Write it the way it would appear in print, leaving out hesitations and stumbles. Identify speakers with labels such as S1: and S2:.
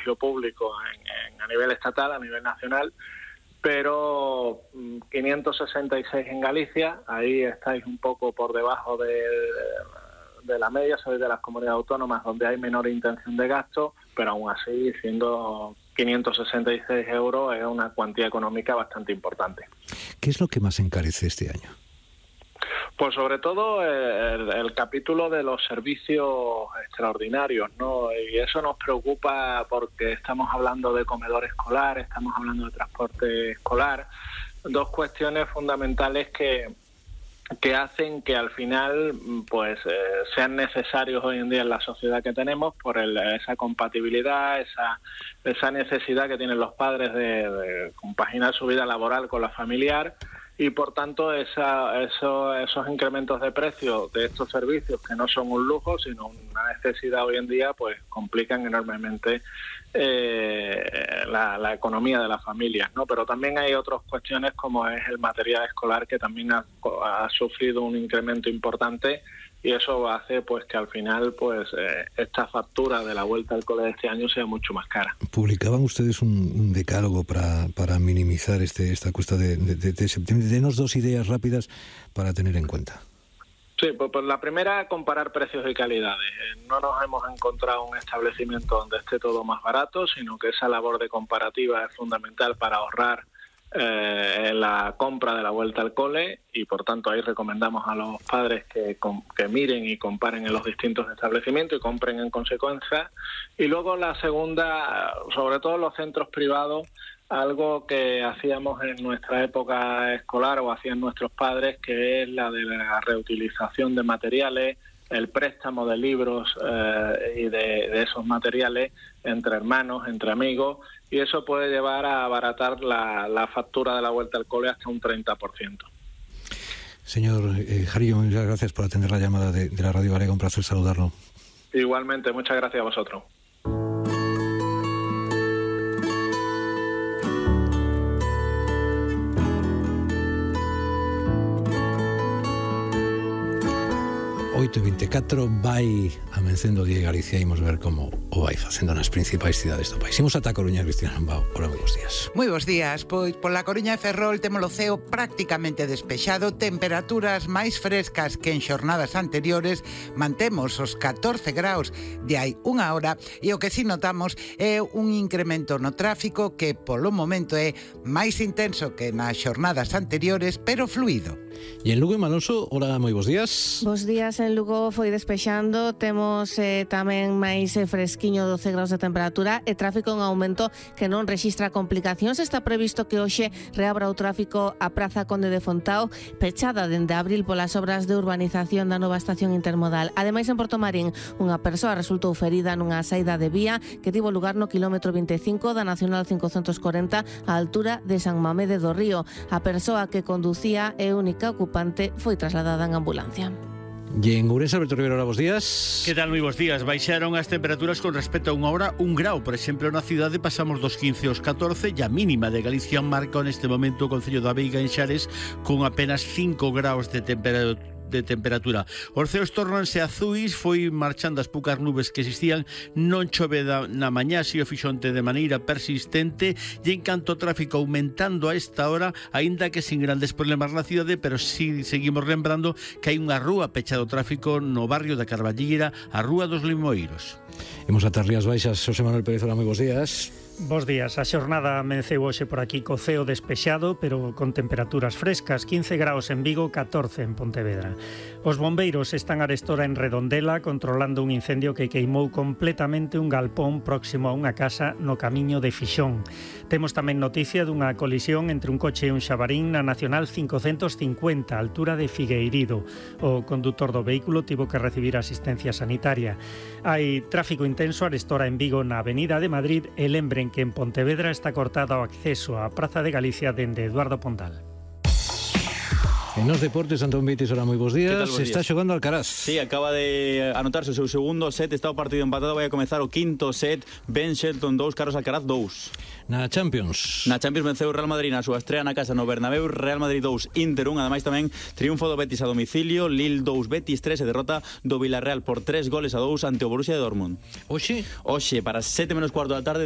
S1: colegio público a nivel estatal, a nivel nacional, pero 566 en Galicia. Ahí estáis un poco por debajo de la media, sois de las comunidades autónomas donde hay menor intención de gasto, pero aún así, siendo 566 euros, es una cuantía económica bastante importante.
S2: ¿Qué es lo que más encarece este año?
S1: Pues sobre todo el capítulo de los servicios extraordinarios, ¿no? Y eso nos preocupa porque estamos hablando de comedor escolar, estamos hablando de transporte escolar, dos cuestiones fundamentales que hacen que al final pues sean necesarios hoy en día en la sociedad que tenemos por esa compatibilidad, esa necesidad que tienen los padres de compaginar su vida laboral con la familiar. Y por tanto esos incrementos de precio de estos servicios, que no son un lujo sino una necesidad hoy en día, pues complican enormemente la economía de las familias, ¿no? Pero también hay otras cuestiones como es el material escolar, que también ha sufrido un incremento importante, y eso hace pues que al final pues esta factura de la vuelta al cole de este año sea mucho más cara.
S2: Publicaban ustedes un decálogo para minimizar esta cuesta de septiembre. Denos dos ideas rápidas para tener en cuenta.
S1: Sí, pues la primera, comparar precios y calidades. No nos hemos encontrado un establecimiento donde esté todo más barato, sino que esa labor de comparativa es fundamental para ahorrar en la compra de la vuelta al cole, y por tanto ahí recomendamos a los padres que miren y comparen en los distintos establecimientos y compren en consecuencia. Y luego la segunda, sobre todo en los centros privados, algo que hacíamos en nuestra época escolar o hacían nuestros padres, que es la de la reutilización de materiales, el préstamo de libros y de esos materiales entre hermanos, entre amigos, y eso puede llevar a abaratar la factura de la vuelta al cole hasta un 30%.
S2: Señor Jarillo, muchas gracias por atender la llamada de la Radio Galega, un placer saludarlo.
S1: Igualmente, muchas gracias a vosotros.
S2: Hoy 24 vai amencendo o día de Galicia e imos ver como o vai facendo nas principais cidades do país. Imos ata Coruña, Cristina Lambao. Hola, moi bons días.
S3: Moi bons días. Pois pola Coruña e Ferrol temos o ceo prácticamente despexado, temperaturas máis frescas que en xornadas anteriores, mantemos os 14 graus de hai unha hora, e o que si notamos é un incremento no tráfico que polo momento é máis intenso que nas xornadas anteriores, pero fluido.
S2: E en Lugo e Malonso, hola, moi bons días.
S4: Bos días. En Lugo foi despexando, temos tamén máis fresquiño, 12 graus de temperatura e tráfico en aumento que non rexistra complicacións. Está previsto que hoxe reabra o tráfico a Praza Conde de Fontao, pechada dende abril polas obras de urbanización da nova estación intermodal. Ademais, en Portomarín, unha persoa resultou ferida nunha saída de vía que tivo lugar no quilómetro 25 da Nacional 540 á altura de San Mamede do Río. A persoa que conducía e única ocupante foi trasladada en ambulancia.
S2: E en Ourense, Alberto Rivero, hola, bons días.
S5: Que tal, moi bons días? Baixaron as temperaturas con respecto a unha hora 1 grau. Por exemplo, na cidade pasamos dos 15 aos 14, e a mínima de Galicia marca neste momento o Concello da Veiga en Xares con apenas 5 graus de temperatura. Os ceos tornanse azuis, foi marchando as poucas nubes que existían, non chove na mañá, si o fixonte de maneira persistente, e en canto ao tráfico aumentando a esta hora, aínda que sin grandes problemas na cidade, pero si seguimos lembrando que hai unha rúa pechada ao tráfico no barrio da Carballigueira, a Rúa dos Limoeiros.
S2: Imos ata Rías Baixas. Xosé Manuel Pérez, hola, moi bons días.
S6: Bos días. A xornada amenceu hoxe por aquí co ceo despexado, pero con temperaturas frescas, 15 graus en Vigo, 14 en Pontevedra. Os bombeiros están arestora en Redondela controlando un incendio que queimou completamente un galpón próximo a unha casa no camiño de Fixón. Temos tamén noticia dunha colisión entre un coche e un xabarín na Nacional 550, altura de Figueirido. O condutor do vehículo tivo que recibir asistencia sanitaria. Hai tráfico intenso arestora en Vigo na Avenida de Madrid, e lembren que en Pontevedra está cortado o acceso á Praza de Galicia dende Eduardo Pondal.
S2: En os deportes, Antón Vitis, hola, moi bons días.
S7: Bos
S2: Está
S7: días.
S2: xogando Alcaraz.
S7: Sí, acaba de anotarse o seu segundo set, está o partido empatado, vai a comezar o quinto set. Ben Shelton 2, Carlos Alcaraz 2.
S2: Na Champions.
S7: Na Champions venceu o Real Madrid na súa estrea na casa no Bernabéu, Real Madrid 2, Inter 1, ademais tamén triunfo do Betis a domicilio, Lille 2, Betis 3 e derrota do Villarreal por 3 goles a 2 ante o Borussia de Dortmund.
S2: Oxe,
S7: para 7 menos cuarto da tarde